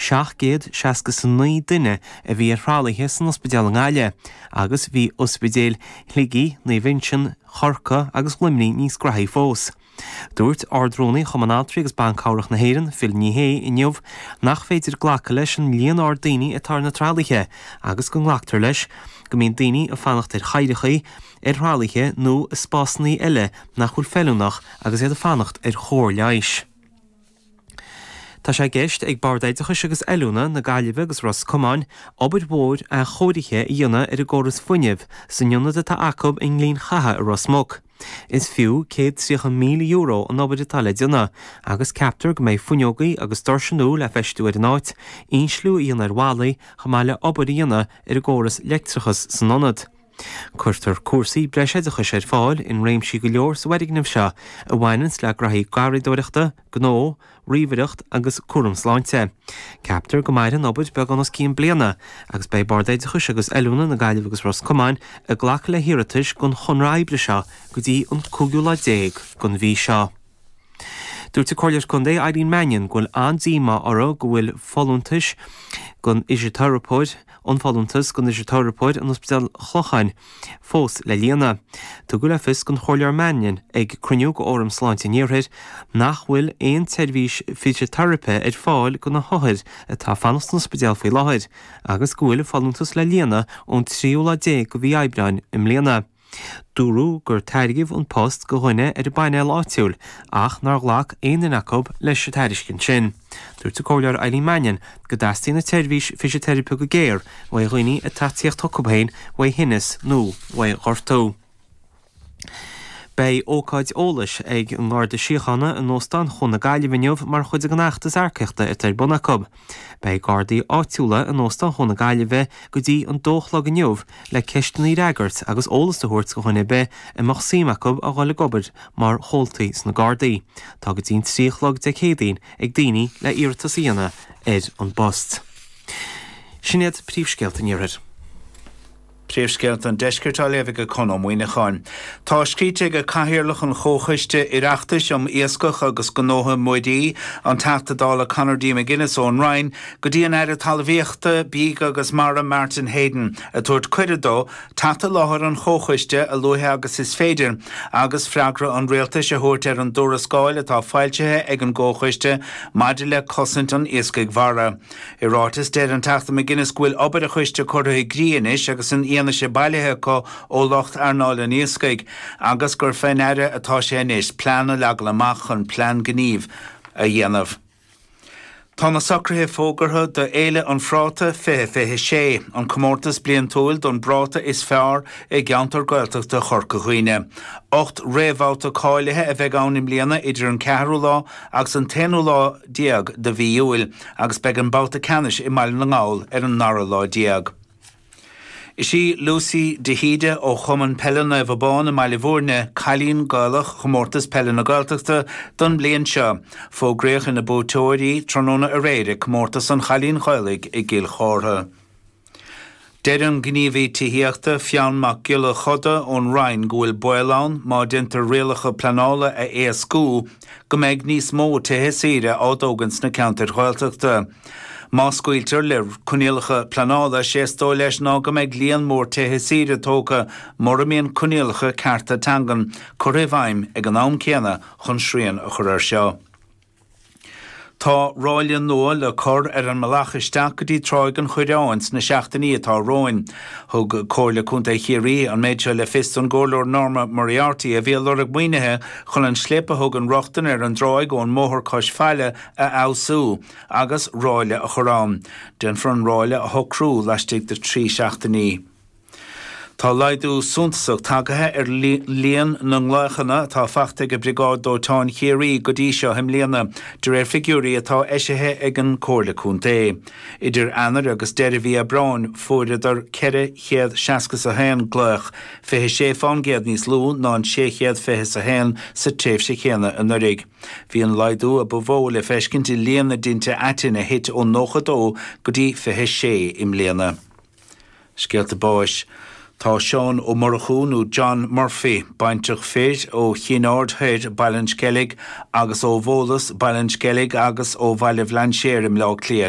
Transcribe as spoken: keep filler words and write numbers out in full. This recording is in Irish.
seacht gcéad seasca is a naoi duine a bhí ar thralaithe san ospidéal i nGaillimh agus bhí ospidéil Shligigh, Naomh Uinseann, Chorcaí agus Luimnigh níos graithí fós. Dúirt Ard-Rúnaí Chumann Altraí agus Ban Cabhrach na hÉireann, Phil Ní Sheaghdha, inniu nach féidir glacadh leis an líon ard daoine atá ar na tralaithe agus go nglactar leis go mbíonn daoine ag fanacht ar chathracha, ar thralaithe nó i spásanna eile nach bhfuil feiliúnach agus iad ag fanacht ar chóir leighis. Tá sé i gceist ag Bord Oideachais agus Oiliúna na Gaillimhe agus Ros Comáin obair mhór athchóirithe a dhéanamh ar an gcóras fuinnimh san ionad atá acu i nGleann Chatha i Ros Muc. Is fiú céad tríocha míle euro an obair atá le déanamh agus ceaptar go mbeidh fuinneogaí agus doirse nua le feistiú ar an áit, insliú a dhéanamh ar bhallaí chomh maith le obair a dhéanamh ar an gcóras leictreachais san ionad. Cuirtear cúrsaí breisoideachais ar fáil in réimsí go leor sa bhfoirgneamh seo a bhaineanns le graithí garraíodóireachta, gnó, ríomhaireacht agus cúram sláinte. Ceaptar go mairfidh an obair beagán os cionn bliana agus beidh Bord Oideachais agus Oiliúna na Gaillimhe agus Ros Comáin ag glacadh le hiarratais don chonradh oibre seo go dtí an cúigiú lá déag den mhí seo. Dúirt an Comhairleoir Contae Eileen Mannion go bhfuil an-díomá orthu go bhfuil folúntais don fhisiteiripeoir an folúntas don fhisiteiripeoir in Ospidéal Chlocháin fós le líonadh. Tugadh le fios don Chomhairleoir Mannion ag cruinniú de Fhóram Sláinte an Iarthair nach bhfuil aon tseirbhís fisiteiripe ar fáil do na hothair atá ag fanacht san ospidéal faoi láthair agus go bhfuil folúntas le líonadh ón tríú lá déag de mhí Aibreáin i mbliana. Dúradh gur tairgeadh an post do dhuine ar an bpainéal áitiúil ach nár ghlac aon duine acu leis an tairiscint sin. Dúirt an Comhairleoir Eileen Mannion go dteastaíonn an tseirbhís fisiteiripe go géar uaidh dhaoine atá ag tíocht chucu féin uaidh thinneas nó uaidh ghortú. Beidh ócáid eolais ag an nGarda Síochána in Óstán Chuan na Gaillimhe inniu mar chuid den fheachtas earcaíochta atá ar bun acu. Beidh Gardaí áitiúla in Óstán Chuan na Gaillimhe go dtí an dó a chlog inniu le ceisteanna a fhreagairt agus eolas a thabhairt do dhuine ar bith a mbeadh suim acu a dhul ag obair mar chomhaltaí sna Gardaí. Tá go dtí an trí a chlog Dé Céadaoin ag daoine le iarratas a dhéanamh ar an bpost. Sin iad príomhscéalta an Iarthair. Príomhscéalta an Deiscirt á léamh ag Conn Ó Muíneacháin. Tá scríte ag Cathaoirleach an Chomhchoiste Oireachtais um Iascach agus Gnóthaí Muirí, an Teachta Dála Conor D. McGuinness ón Rinn, go dtí an Aire Talmhaíochta, Bídh agus Mara Martin Heydon, ag tabhairt cuireadh dó teacht i láthair an chomhchoiste a luaithe agus is féidir agus freagra an rialtais a thabhairt ar an dtuarascáil atá foilsithe ag an gcomhchoiste maidir le cosaint an iascaigh mhara. I ráiteas, deir an Teachta McGuinness go bhfuil obair an choiste curtha i gcrích anois agus an fhianaise bailithe acu ó lucht earnáil an iascaigh agus gur fén Aire atá sé anois plean a leagan amach chun plean gnímh a dhéanamh. Tá na socruithe fógartha do Fhéile an Phráta fiche fiche sé, an comórtas bliantúil don bpráta is fearr i gceantar Gaeltachta Chorca Dhuibhne. Ocht réamhbhabhta cáilithe a bheidh ann i mbliana idir an ceathrú lá agus an t-aonú lá déag de mhí Iúil agus beidh an babhta ceannais i mBaile na nGall ar an ndara lá déag. Is í Lucy de hÍde ó Chumann Peile Naomh Abán i mBaile Bhúirne cailín Gaelach Chomórtas Peile na Gaeltachta don mbliain seo. Fógraíodh ina buaiteoir í tráthnóna aréir ag Comórtas an Chailín Ghaelaigh i gCill Chártha. Deir an gníomhaí tithíochta Fionn Mac Giolla Choda ón Rinn go bhfuil baol ann má déantar rialacha pleanála a éascú go mbeidh níos mó tithe saoire á dtógaint sna ceantair Ghaeltachta. Má scaoiltear le coinníollacha pleanála, sé is dóigh leis ná go mbeidh líon mór tithe saoire tógtha mura mbíonn coinníollacha cearta teangan curtha i bhfeidhm ag an am céanna chun srian a chur air seo. Tá ráille nua le cur ar an mbealach isteach go dtí Tráigh an Choireáin sna seachtainí atá romhainn. Thug Comhairle Contae Chiarraí an méid seo le fios don gComhairleoir Norma Moriarty a bhí ag lorg maoinithe chun an scléip a thugann rochtain ar an dtráigh ón mbóthar cois faille a fheabhsú agus ráille a chur ann. Déanfar an ráille a shocrú laistigh de trí seachtainí. Tá laghdú suntasach tagaithe ar líon na nglaochanna atá faighte ag Briogáid Dóiteáin Chiarraí go dtí seo i mbliana, de réir figiúirí atá eisithe ag an Comhairle Contae. Idir Eanáir agus deireadh mhí Aibreáin fuaireadar ceithre chéad seasca is a haon glaoch, fiche sé fán gcéad níos lú ná an sé chéad fiche is a haon sa tréimhse chéanna anuraidh. Bhí an laghdú a ba mhó le feiscint i líon na dtinte aitinn a thit ó nócha dó go dtí fiche sé i mbliana. Scéalta báis. Tá Seán Ó Murchú nó John Murphy, baintreach fir ó Chinn Aird Thoir, Baile an Sceilg, agus ó Bhólas, Baile an Sceilg agus ó Bhaile Bhlainséir i mBleá Cliath,